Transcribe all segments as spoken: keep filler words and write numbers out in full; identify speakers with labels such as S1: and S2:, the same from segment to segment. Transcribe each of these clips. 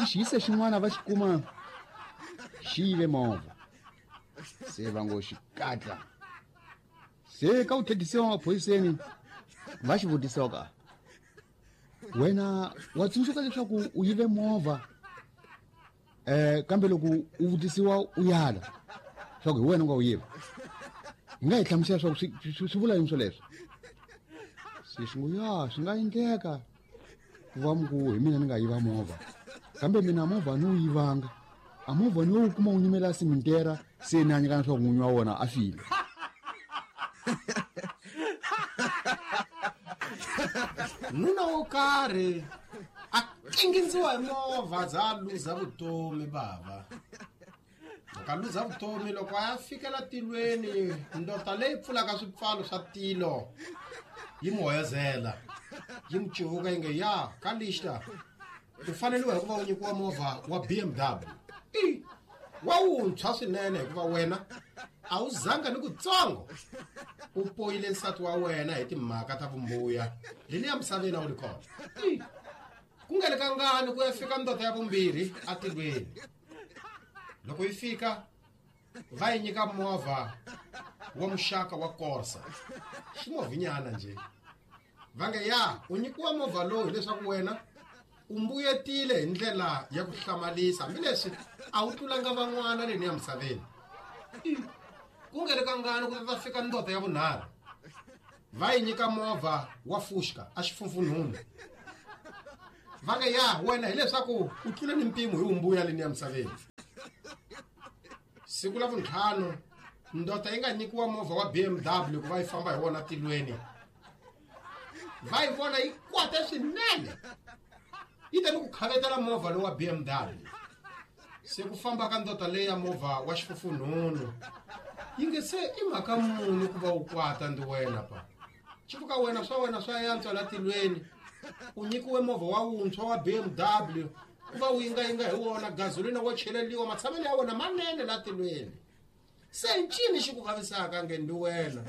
S1: I xiyise xin'wana va xi kuma xi yive movha se va ngo xikatla se ka u thethisiwa maphoyiseni va xi vutisiwa ka wena wa tsundzuka leswaku u yive movha eh kambe loko u vutisiwa u yala swa ku hi wena u nga wu yiva hi nga hi hlamusela swa ku swi swi vula yini swoleswo se xi ngo ya swi nga endleka ku va mi ku hi mina ni nga yiva movha kambe mina movha ni wu yivanga a movha ni wu kuma wu nyimela simitera se ni a nyikana swa ku n'winyi wa wona a file.
S2: Nuna wo karhi a kingindziwa hi movha za luza vutomi bava loko a luza vutomi loko a ya fikela tilweni ndota leyi pfulaka swipfalo swa tilo yi n'wi hoyozela yi n'wi civuka yi nge ya ka lixta u faneliwa hikuva u nyikiwa movha wa B M W i wa wuntshwa swinene hikuva wena a wu zanga ni kutsongo u poyile nsati wa wena hi timhaka ta vumbuya leni ya misaveni a wu ri kona ku nga le ka ngani ku ya fika ndota ya vumbirhi atilweni loko yi fika va yi nyika movha wa muxaka wa Corsa ximovhinyana nje va nge ya u nyikiwa movha lowu hileswaku wena u mbuyetile hi ndlela ya ku hlamalisa hambileswi a wu tlulanga van'wana leni ya misaveni ku nga le ka ngani ku ta fika ndota ya vunharhu va yi nyika movha wa Fushka a xifunfunhunu va nge ya wena hileswaku u tlule ni mpimo hi umbuya leni ya misaveni siku la vuntlhanu ndota yi nga nyikiwa movha wa B M W ku va yi famba hi wona tilweni va yi vona yi kwate swinene yi ta ni ku khavetela movha lowu wa B M W se ku famba ka ndota leyi ya movha wa xifufunhunu yi nge se i mhaka muni ku va u kwata ndi wena pa xivuka wena swa wena swa yantswa la tilweni u nyikiwe movha wa wuntshwa wa B M W ku va u yingayinga hi wona gazolina wo cheleliwa matshamelo ya wona manene la tilweni se ncini xi ku vavisaka nge ndi wena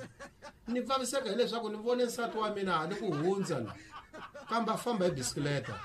S2: ni vaviseka hileswaku ni vone nsati wa mina ni ku hundza la kambe a famba hi bisikileta.